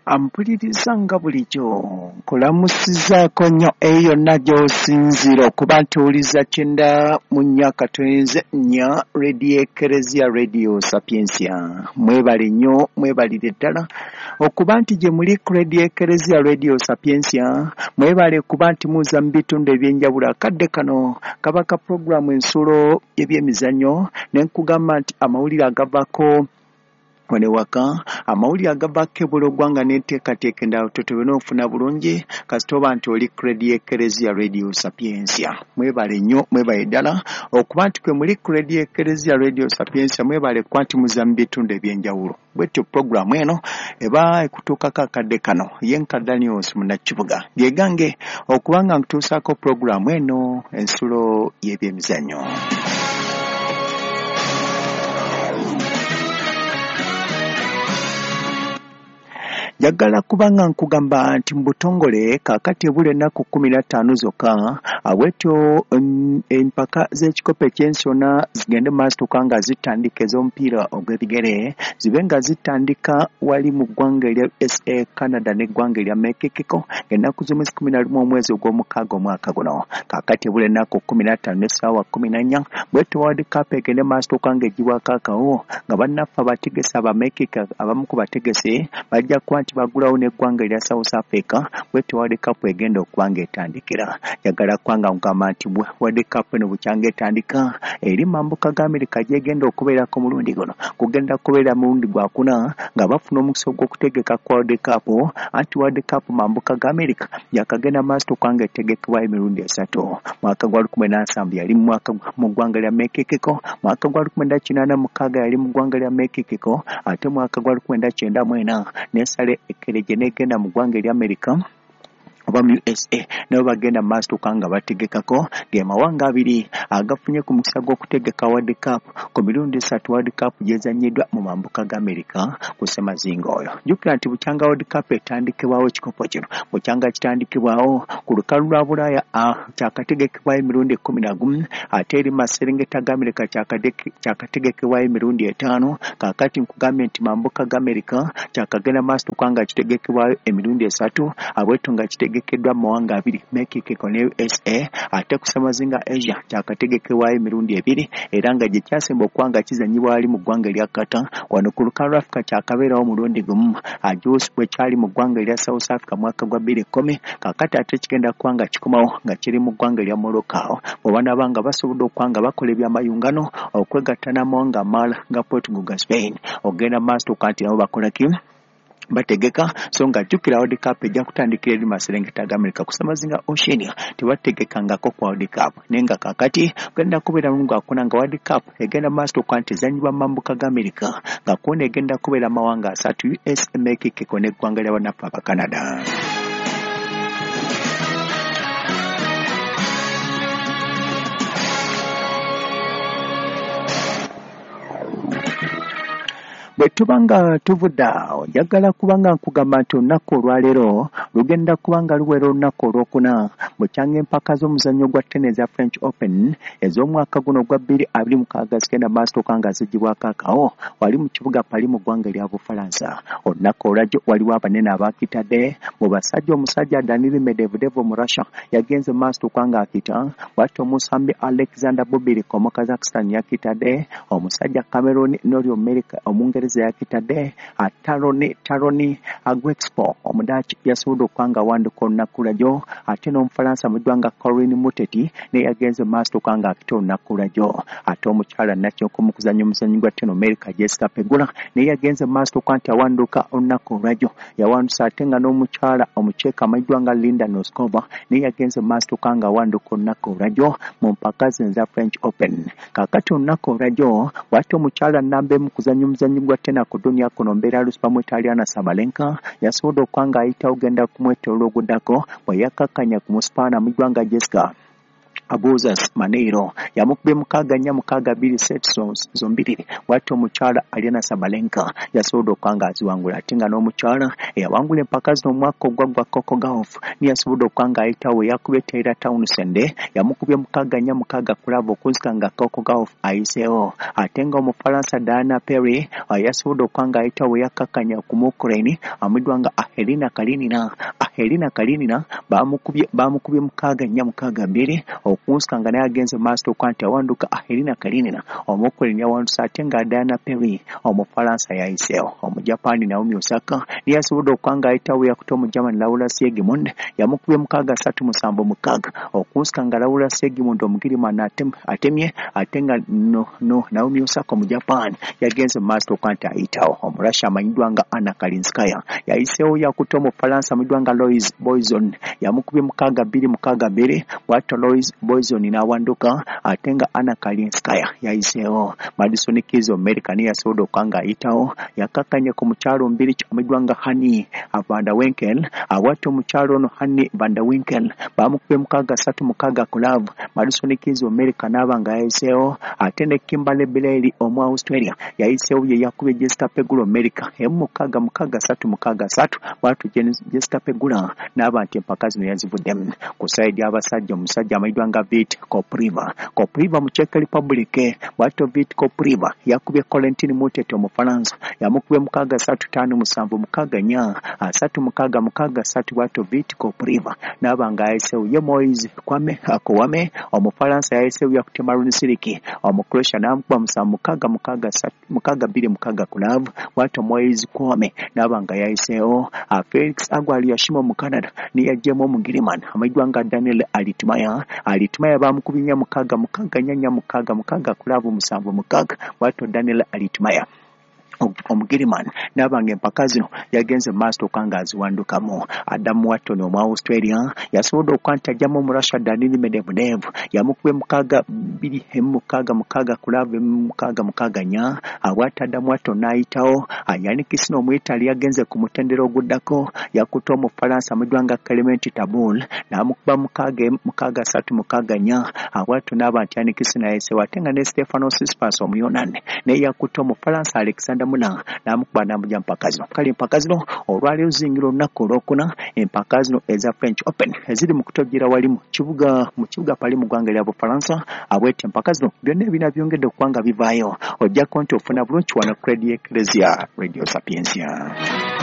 Ampuliriza nga bulijjo nkulamusizaako nnyo eyo yonna gy'osinziira okuba nti owuliza 94.4 Radio Ekereziya Radio Sapientia. Mwebale nnyo, mwebalire ddala okuba nti gye muli ku Radio Ekereziya Radio Sapientia. Mwebale kuba nti muza mu bitundu eby'enjawulo. Akadde kano kaba ka pulogulaamu Ensulo y'Ebyemizannyo, ne nkugamba nti amawulire agavaako wano ewaka, amawulire agavaako ebweru w'eggwanga n'enteekateeka endala totobye n'ofuna bulungi kasita oba nti oli ku Radio Ekereziya Radio Sapientia. Mwebale nnyo, mwebale ddala okuba nti kwe muli ku Radio Ekereziya Radio Sapientia. Mwebale kuba nti muza mu bitundu eby'enjawulo. Bwetyo pulogulaamu eno eba ekutuukako akadde kano. Ye nka Daniels Munnakibuga gegange okuba nga nkutuusaako pulogulaamu eno Ensulo y'Ebyemizannyo. Njagala kubanga nkugamba nti mu butongole kaakati ebula ennaku 15 zokka bwetyo empaka z'ekikopo eky'ensi yonna zigende mu maaso tuka nga zitandika, ez'omupiira ogw'ebigere zibe nga zitandika wali mu ggwanga erya USA, Canada n'eggwanga erya Mexico ng'ennaku z'omwezi 11 omwezi ogw'omukaaga omwaka guno. Kaakati ebula ennaku 15 n'essaawa 14 bwetyo World Cup egende mu maaso tuka ng'eggyibwako akawo nga bannaffe abategesi aba Mexico abamu ku bategesi bajja kuba nti bagulawo n'eggwanga erya South Africa bwetyo World Cup egenda okuba ng'etandikira. Njagala kubanga nkugamba nti World Cup eno bukyanga etandika eri mambuka ga Amerika gy'egenda okubeerako mulundi guno kugenda kubeera mulundi gwakuna nga bafuna omukisa ogw'okutegeka ku World Cup. Anti World Cup mambuka ga Amerika yakagenda maaso okuba ng'etegekebwa emirundi esatu. Mwaka gwa 1970 yali mwaka mu ggwanga lya Mexico, mwaka gwa 1986 yali mu ggwanga lya Mexico, ate mwaka gwa 1994 n'esala ekereje n'egenda mu ggwanga erya Amerika oba mu USA, nabo bagenda mu maaso tuka nga bategekako. Ge mawanga abiri agafunye ku mukisa gw'okutegeka World Cup ku mirundi esatu World Cup gyezannyiddwa mu mambuka ga Amerika ku ssemazinga oyo. Jjukira nti bukyanga World Cup etandikibwawo ekikopo kino bukyanga kitandikibwawo ku lukalu lwa Bulaaya kyakategekebwayo emirundi 11, ate eri maserengeta ga Amerika kyakategekebwayo emirundi 5. Kaakati nkugambye nti mambuka ga Amerika kyakagenda maaso tuka nga kitegekebwayo emirundi esatu, abwetu nga kitegekeddwa mu mawanga abiri, Mexico ne USA, ate ku ssemazinga Asia kyakategekebwayo emirundi 2 era nga gye kyasemba okuba nga kizannyibwa wali mu ggwanga erya Qatar. Wano ku lukalu lwa Africa kyakabeerawo mulundi gumu ajuusi bwe kyali mu ggwanga erya South Africa mwaka gwa 2010. Kaakati ate kigenda kuba nga kikomawo nga kiri mu ggwanga erya Morocco bwe banaaba nga basobodde okuba nga bakola ebyamayungano okwegatta n'amawanga amalala nga Portugal ga Spain ogenda maaso tuka nti nabo bakola ki bategeka. So nga jjukira World Cup ejja kutandikira eri maserengeta ga Amerika ku ssemazinga Oceania tebategekangako ku World Cup, naye nga kaakati genda kubeera mulungu gwakuna nga World Cup egenda maaso okuba nti ezannyibwa mu mambuka ga Amerika nga kwona egenda kubeera amawanga asatu, US, Mexico n'eggwanga lya bannaffe aba Canada. Bwe tuba nga tuvudde awo, njagala kubanga nkugamba nti olunaku olwaleero lugenda kuba nga luwera olunaku olwokuna bukyanga empaka z'omuzannyo gwa tennis eza French Open ez'omwaka guno ogwa 2026 zigenda maaso okuba nga ziggyibwako akawo wali mu kibuga Paris mu ggwanga erya Bufalansa. Olunaku olwajjo waliwo abanene abaakitadde mu basajja. Omusajja Daniil Medvedev mu Russia yagenze maaso okuba nga akita, bw'atyo omusambi Alexander Bublik omu Kazakhstan yakitadde, omusajja Cameron Norrie Omungereza yakitadde, Taroni Agwexpo Omudaaki yasobodde okuba nga awanduka olunaku lwajjo, ate n'Omufalansa mu ggwanga Corinne Muteti naye yagenze maaso okuba nga akita olunaku lwajjo, ate omukyala Nakyonko mu kuzannya omuzannyo gwa tennis America Jessica Pegula naye yagenze maaso okuba nti awanduka olunaku olwajjo yawanduse, ate nga n'omukyala Omucheeka amanyiddwa nga Linda Noskova naye yagenze maaso okuba nga awanduka olunaku olwajjo mu mpaka zino eza French Open. Kaakati olunaku olwajjo bw'atyo omukyala nnamba emu kuzannya omuzannyo gwa tennis ku dunia kuno Belarus bamuyita Aryna Sabalenka yasobodde okuba nga ayitawo genda kumwetooloola oguddako bwe yakkakkanya ku Musipaana mu ggwanga Jessica Abuzas Maneiro yamukubye 6-4 6-2 sets zombiriri. Bw'atyo omukyala Aryna Sabalenka yasobodde okuba nga aziwangula, ate nga n'omukyala eyawangula empaka zino omwaka ogwaggwa Coco Gauff niye yasobodde okuba nga ayitawo, yakubye Taylor Townsend yamukubye 6-4 6 ku love okunzika nga Coco Gauff ayiseewo. Ate nga Omufalansa Diana Perry yasobodde okuba nga ayitawo, yakkakkanya ku Ukraine amuddwa nga Ahelina Kalinina. Ahelina Kalinina bamukubye 6-4 6-2 okunsika nga naye agenze maaso okuba nti awanduka. Ahelina Kalinina Omuukraine yawanduse, ate nga Diana Perry Omufalansa yayiseewo. Omujapani Naomi Osaka niye yasobodde okuba nga ayitawo, yakutte Omugermany Laura Siegemund yamukubye 6-3 7 6 okunsika nga Laura Siegemund Omugirimani atemye, ate nga Naomi Osaka Omujapan yagenze maaso okuba nti ayitawo. Omurussia amanyiddwa nga Anna Kalinskaya yayiseewo, yakutte Omufalansa amanyiddwa nga Louise Boyson yamukubye 6-2 6-2 bw'atyo Louise Boyson n'awanduka, ate nga Anna Kalinskaya yayiseewo. Madison Keys Omumerika niye yasobodde okuba nga ayitawo, yakkakkanye ku mukyalo Mbiriki amanyiddwa nga Hanny van der Winkel. Bw'atyo omukyalo ono Hanny van der Winkel bamukubye 6-3 6 ku love. Madison Keys Omumerika n'aba nga yayiseewo, ate ne Kimberly Birrell omu Australia yayiseewo, ye yakubye Jessica Pegula Omumerika 6 6 3 6 3 bw'atyo Jessica Pegula n'aba nti empaka zino yazivuddemu. Ku sayidi abasajja, omusajja amanyiddwa nga Vit Kopriva, Kopriva mu Czech Republic, bw'atyo Vit Kopriva yakubye Corentin Moutet Omufalansa yamukubye 6-3 5 7 6 4 3 6 6 3 bw'atyo Vit Kopriva n'aba nga yayiseewo. Ye Moise Kouame Omufalansa yayiseewo, yakutte Marin Cilic Omucroatia n'amukuba 7 6 6 3 6 2 6 ku love bw'atyo Moise Kouame n'aba nga yayiseewo. Felix Auger-Aliassime mu Canada niye yaggyemu Omugirimani amanyiddwa nga Daniel Altmaier. Altmaier bamukubye 4 6 6 4 4 6 6 ku love 7 6 bw'atyo Daniel Altmaier Omugirimani n'aba nga empaka zino yagenze maaso okuba nga aziwandukamu. Adam Watson omu Australia yasobodde okuba nti ajjamu Omurussia Daniil Medvedev yamukubye 6 2 6 6 ku love 6 6 4 bw'atyo Adam Watson n'ayitawo. Jannik Sinner Omuitali yagenze ku mutendera oguddako, yakutte Omufalansa amanyiddwa nga Clement Tabul n'amukuba 6 6 3 6 4 bw'atyo n'aba nti Jannik Sinner yayiseewo. Ate nga ne Stefano Tsitsipas Omuyonani naye yakutte Omufalansa Alexander Muller n'amukuba n'amugya mpaka zino. Kale empaka zino olwaleero zingira olunaku olwokuna, empaka zino eza French Open eziri mu kutojjera wali mu kibuga Paris mu ggwanga lya Bufalansa. Abwete empaka zino byonna ebina byongedde okuba nga bivaayo, ojjako nti ofuna bulungi wano ku Radio Ecclesia, Radio Sapientia.